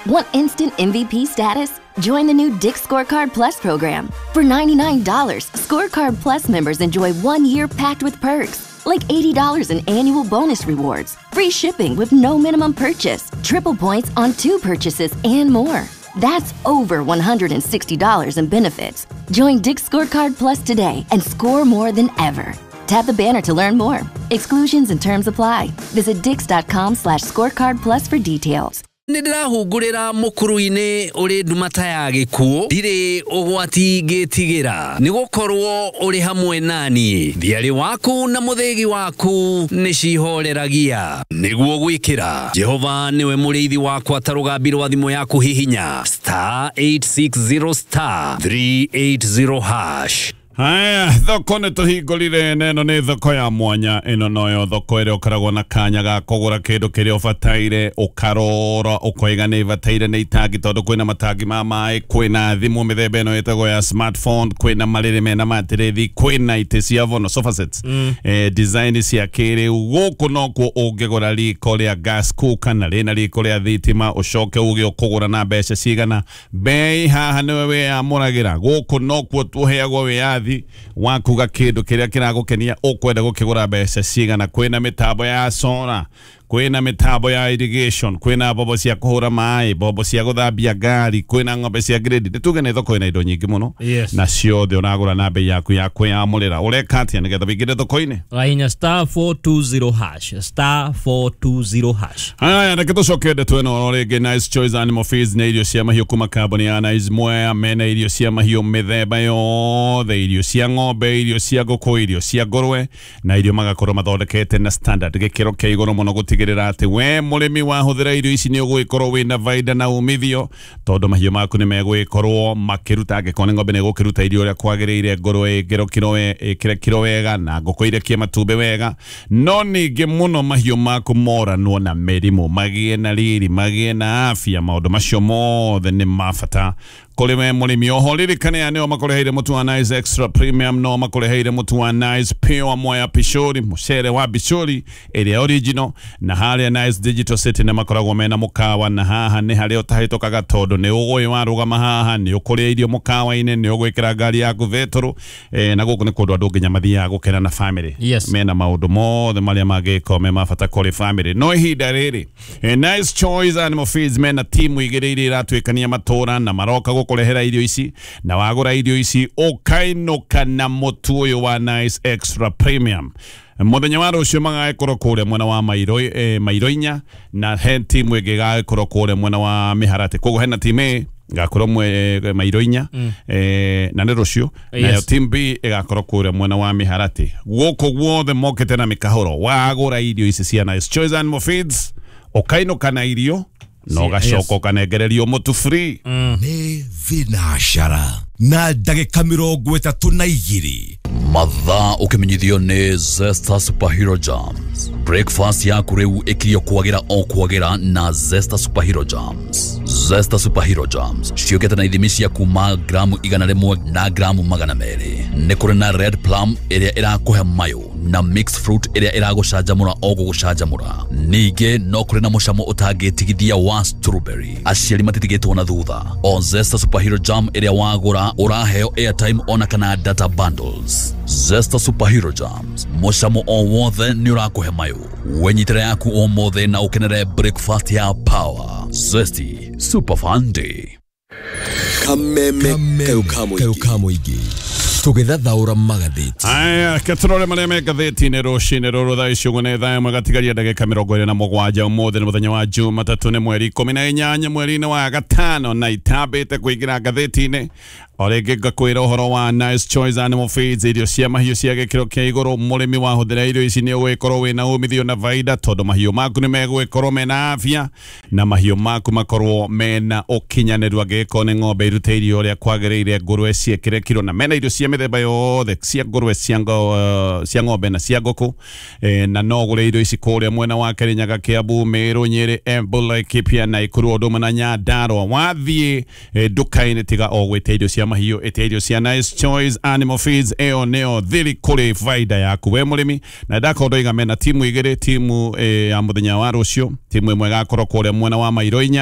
Want instant MVP status? Join the new Dick's Scorecard Plus program. For $99, Scorecard Plus members enjoy 1 year packed with perks, like $80 in annual bonus rewards, free shipping with no minimum purchase, triple points on two purchases, and more. That's over $160 in benefits. Join Dick's Scorecard Plus today and score more than ever. Tap the banner to learn more. Exclusions and terms apply. Visit dicks.com/scorecard plus for details. Nĩ ndĩrahungurĩra mũkuru-inĩ ũrĩ ndumata ya gĩkuũ, ndirĩ ũgwati ngĩtigĩra, nĩ gũkorwo ũrĩ hamwe naniĩ. Thiarĩ waku na mũthĩgi waku nĩ cihoreragia. Nĩguo gwĩkĩra Jehova nĩwe mũrĩithi wakwa ta rũgambi rwa thimũ yaku, hihinya *860*380#. Haya, thoko nĩ tũhingũrire, na ĩno nĩ thoko ya mwanya. Ĩno noyo thoko ĩrĩa ũkoragwo na kanya ga kũgũra kĩndũ kĩrĩa ũbataire, ũkarora ũkoiga nĩ bataire nĩ itangi, tondũ kwĩna matangi ma maĩ, kwĩna thimũ mĩthemba ĩno ĩtagwo ya smartphone, kwĩna marĩrĩ mena matĩrĩthi, kwĩna itĩ cia vono, sofa sets, design cia kĩrĩu. Gũkũ nokuo ũngĩgũra riko rĩa gas cooker na rĩna riko rĩa thitima, ũcoke uge ũkũgũra na mbeca cigana. Bei haha nĩwe wĩyamũragĩra. Gũkũ nokuo tũheagwo wĩyathi wa kuga kĩndũ kĩrĩa kĩragũkenia ũkwenda gũkĩgũra mbeca cigana. Kwĩna mĩtambo ya solar, kwĩna mĩtambo ya irrigation, kwĩna mbombo cia kũhũra maĩ, mbombo cia gũthambia ngari, kwĩna ng'ombe cia grade. Nĩ tuge nĩ thoko ĩna indo nyingĩ mũno. Na ciothe ũragũra na bei yaku ya kwĩyamũrĩra. Ũreka atĩa nĩgetha wĩingĩre thoko-inĩ? Wahinya *420#, *420#. Haya, reke tũcoke ndeto ĩno oro rĩngĩ. Nice Choice Animal Feeds nĩ irio cia mahiũ kuma kambuni ya Nice Mwea. Mena irio cia mahiũ mĩthemba yothe, irio cia ng'ombe, irio cia ngũkũ, irio cia ngũrwe, na irio magakorwo mathondekete na standard, gĩkĩro kĩa igũrũ mũno, gũtigĩrĩra atĩ we mũrĩmi wahũthĩra irio ici nĩ ũgũgĩkorwo wĩna baida na umithio, tondũ mahiũ maku nĩ megũgĩkorwo makĩruta. Angĩkorwo nĩ ng'ombe, nĩ ĩgũkĩruta irio ũrĩa kwagĩrĩire, ngũrwe ĩkĩro kiro ĩkĩre kiro wega, na ngũkũ irekie matumbĩ wega. No ningĩ mũno mahiũ maku moranwo na mĩrimũ, magĩe na riri, magĩe na afya. Maũndũ macio mothe nĩ ma bata kũrĩ we mũrĩmi. Oho ririkane aya nĩo makũreheire mũtu wa Nice Extra Premium, no makũreheire mũtu wa Nice Pure Mwea Pishori, mũcere wa Bishori ĩrĩa original. Na harĩa Nice Digital City nĩ makoragwo mena mũkawa, na haha nĩ harĩa ũtahĩtũkaga, tondũ nĩ ũgũĩ warũgama haha nĩ ũkũrĩa irio mũkawa-inĩ, nĩ ũgwĩkĩra ngari yaku betũrũ, na gũkũ nĩ kũndũ andũ nginya mathiaga gũkena na family. Mena maũndũ mothe marĩa mangĩkorwo me ma bata kũrĩ family. No ihinda rĩrĩ, Nice Choice Animal Feeds mena timu igĩrĩ iria iratuĩkania matũra na maroka gũkũrehera irio ici, na wagũra irio ici ũkainũka na mũtu ũyũ wa Nice Extra Premium. Mũthenya wa rũciũ magagĩkorwo kũrĩa mwena wa Mairo, Mairo inya, na he timu ĩngĩ ĩgagĩkorwo kũrĩa mwena wa Mĩharatĩ. Koguo hena timu A ĩgakorwo Mairo inya, na nĩ rũciũ, nayo team B ĩgakorwo kũrĩa mwena wa Mĩharatĩ. Gũkũ guothe mokĩte na mĩkahũro. Wagũra irio ici cia Nice Choice Animal Feeds ũkainũka na irio na ũgacoka ũkanengererio mũtu free. Nĩ thinacara na ndagĩka 32. Mathaa ũkĩmenyithio nĩ Zesta Superhero Jams. Breakfast yaku rĩu ĩkirio kwagĩra o kwagĩra na Zesta Superhero Jams. Zesta Superhero Jams ciũkĩte na ithimi cia kuma gramu 100 na gramu 200. Nĩ kũrĩ na red plum ĩrĩa ĩrakũhe mayũ, na mixed fruit ĩrĩa ĩragũcanjamũra o gũgũcanjamũra. Ningĩ no kũrĩ na mũcamo ũtangĩtigithia wa strawberry. Aciari matitigĩtwo na thutha. O Zesta Superhero Jam ĩrĩa wagũra, ũraheo airtime ona kana data bundles. Zesta Superhero Jams, mũcamo o wothe nĩ ũrakũhe mayũ. Wenyitĩra yaku ũmũthĩ na ũkenere breakfast ya power. Zesty Super Fun Day. Kameme kayo ka mũingĩ tũgĩthathaũra magathĩti. Aya, ketũrore marĩa me ngathĩti-inĩ rũcinĩ rũrũ. Thaa ici ũguo nĩ thaa 1 gatigaria ndagĩka 27. Ũmũthĩ nĩ mũthenya wa Jumatatũ, nĩ mweri 18 mweri-inĩ wa gatano, na itambĩte kũingĩra ngathĩti-inĩ, o rĩngĩ ngakwĩra ũhoro wa Nice Choice Animal Feeds, irio cia mahiũ cia gĩkĩro kĩa igũrũ. Mũrĩmi wahũthĩra irio ici nĩ ũgũgĩkorwo wĩna umithio na baida, tondũ mahiũ maku nĩ megũgĩkorwo mena afya na mahiũ maku makorwo mena ũkinyanĩru. Angĩgĩkorwo nĩ ng'ombe, irute irio ũrĩa kwagĩrĩire, ngũrwe ciĩkĩre kiro, na mena irio cia mĩthemba yothe cia ngũrwe, cia ng'ombe na cia ngũkũ. Na no ũgũre irio ici kũrĩa mwena wa Kĩrĩnyaga, Kĩambu, Meru, Nyĩrĩ, Embu, Laikipia, Naikuru, ũndũ ũmwe na Nyandarua. Wathiĩ nduka-inĩ, tiga o gwĩtia irio cia mahiũ, ĩtia irio cia Nice Choice Animal Feeds. Ĩyo nĩyo thiri kũrĩ baida yaku we mũrĩmi. Na ndakorwo ndoiga mena timu igĩrĩ, timu ya mũthenya wa rũciũ, timu ĩmwe ĩgakorwo kũrĩa mwena wa Mairo inya.